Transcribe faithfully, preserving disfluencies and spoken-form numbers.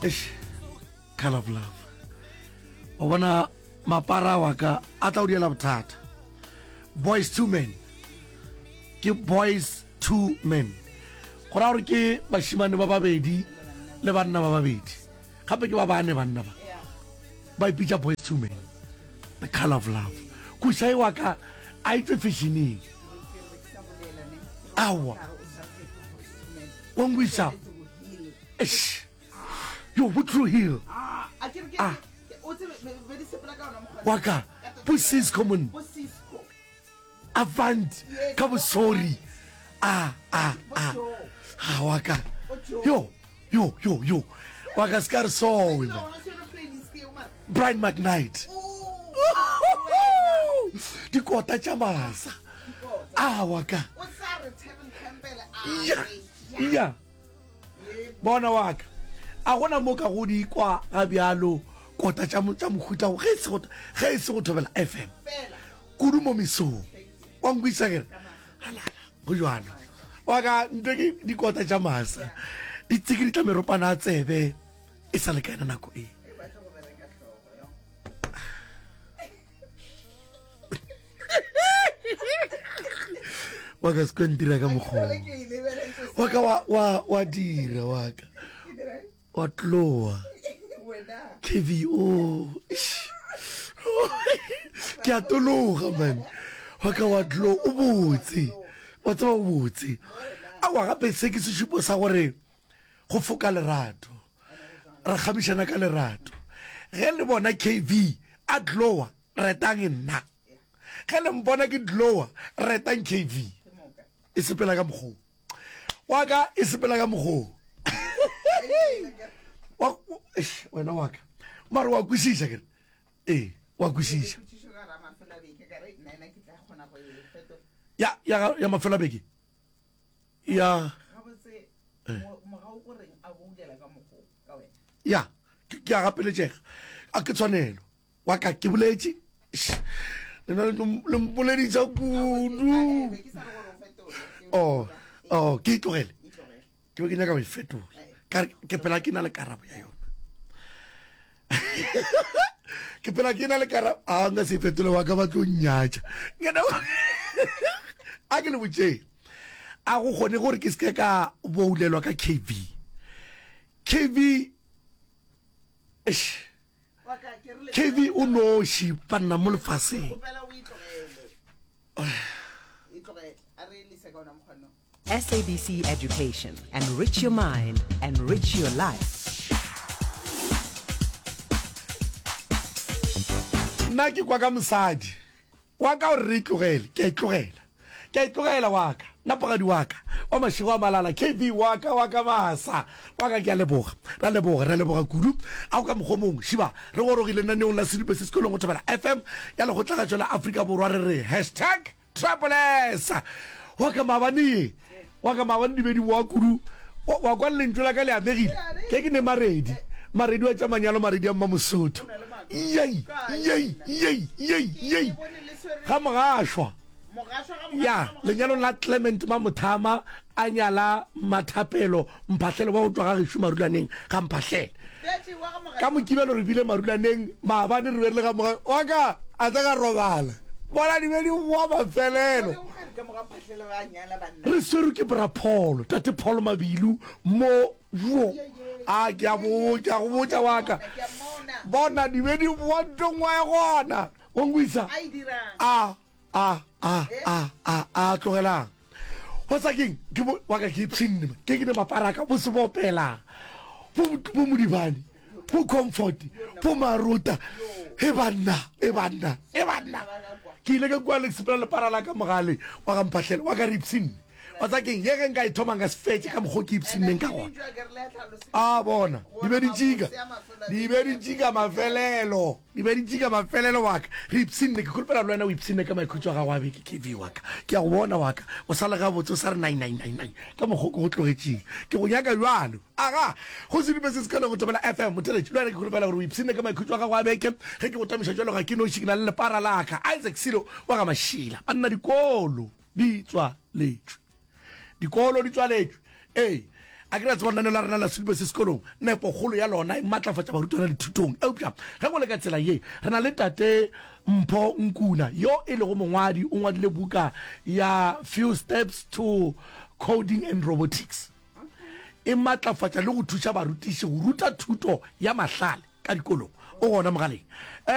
Eish, Color of Love. O bona mapara wa ka a tla o diela bothata. Boys two men. Ke boys two men. Go ra gore ke bashimane ba babedi le banna ba babedi. Gape ke ba bane banna ba. Ba ipitša boys two men. The Color of Love. Kušai wa ka a itse fashioning. Aowa. Wa ngwisa. Eish. Yo, bo True Hill. Ah. Wa ka, bo Cisco mon. Avant, ka bo sorry. Ah, ah, ah. Ah, wa ka. Yo, yo, yo, yo. Wa ka se ka re sowe, man. Brian McKnight. Dikota tša masa. Ah, wa ka. Ya, ya. Bona wa ka. A gona mo ka go di kwa ga bjalo kota tša tša mohuta ge e se go ge e se go thobela F M. Kudu mo mesong. Wa nkwisa ke re halala go jwalo. Wa ka ntwe ke dikota tša masa. Di tsikiditla meropana a tsebe e sa le ka yona nako e. Wa ka se ntira ka mokgwa. Wa ka wa wa wa dira wa ka. Wa tloa. K V O. Ke a tologa man. Wa ka wa tloa o botse. Wa tseba o botse. A wa gape se ke sešupo sa gore go foka lerato. Re kgamišana ka lerato. Ge le bona K V a tloa retang nna. Ge le mpona ke tloa retang K V. E sepela ka mokgwa. Wa ka e sepela ka mokgwa. Wa, eish, wena wa ka. Mara wa kwešiša ke re. Ee, wa kwešiša. Ya, ya, ya mafelo a beke. Ya. Ya, ke, ke a gapeletšega. A ke tshwanelo. Wa ka ke boletše. Lena le mpoleditša kudu. Oh, oh, ke itlogele. Ke be ke nyaka go e fetola. Ka re, ke phela ke na le karabo ya yona. Ke phela ke na le karabo. A nka se fetole wa ka ba tlo nnyatša. A ke le botšeng. A go kgone gore ke se ke ka boulelwa ka K V. K V, eish. K V o noši banna mo lefaseng. S A B C Education, enrich your mind, enrich your life. Nna ke kwa ka mosadi wa ka gore re itlogele, ke a itlogela, ke a itlogela wa ka, nna pogadi wa ka wa mašego a malala, K V wa ka, wa ka masa wa ka, ke a leboga, ra leboga, ra leboga kudu. A go ka mokgwa o mongwe, šiba re gorogile lenaneong la Sedupe se sekolong go Thobela F M ya Lekgotlagatšo la Afrika Borwa, re re hashtag Triple S. Wa ka maabane ye, wa ka maabane di be di boa kudu. Wa, wa kwa lentšu la ka le amegile. Ke ke ne Maredi, Maredi wa tša manyalo, Maredi a Mmamosotho. Yei, yei, yei, yei, yei. Ga Mogašwa. Ya, lenyalong la Clement Mamothama a nyala Mmathapelo Mphahlele wa go tšwa ga gešo Marulaneng ga Mphahlele. Ka Mokibelo re bile Marulaneng, maabane re be re le ga Moga, wa ka a tla ka robala. Bona di be di boa mafelelo. Re swerwe ke Bra Paul, Tate Paul Mabilu mo jo. A ke a botša, go botša wa ka. Bona di be di boa ntong wa e gona. O nkwisa? A a a a a a tlogelang. Go sa keng ke bo wa ka ke ipshinne ke ke ne maparaka bo se bopela bo bo modibane bo comfort bo marota e banna e banna e banna ke ile ka kua le sepela le para la ka mogale wa ga mphahlele wa ka re ipshinne wa tsa keng ye ge nka e thoma nka se fetše ka mokgwa ke ipshinneng ka gona a bona di be di tšika di be di tšika mafelelo Di be di tšika mafelelo wa ka. Re ipshinne. Ke kholofela le wena o ipshinne ka maikhutšo a gago a beke, K V wa ka. Ke a go bona wa ka. O sa le gabotse, o sa re nai, nai, nai, nai ka mokgo ke go tlogetšeng. Ke go nyaka bjalo. Aga, go se dupe se se kgone go Thobela F M. Motheeletši, le wena ke kholofela gore o ipshinne ka maikhutšo a gago a beke. Ge ke go tamiša bjalo ga ke noši, ke na le lepara la ka, Isaac Silo wa ga Mašila. Banna, dikolo di tswaletšwe. Dikolo di tswaletšwe. Ee, A ke re a tseba lenaneo la rena la Sedupe se Sekolong, nepokgolo ya lona e matlafatša barutwana dithutong. Eupša ge go le ka tsela ye, re na le Tate Mpho Nkuna, yo e lego mongwadi, o ngwadile buka ya Few Steps to Coding and Robotics. E matlafatša le go thuša barutiši go ruta thuto ya mahlale ka dikolong. O gona mogaleng. Um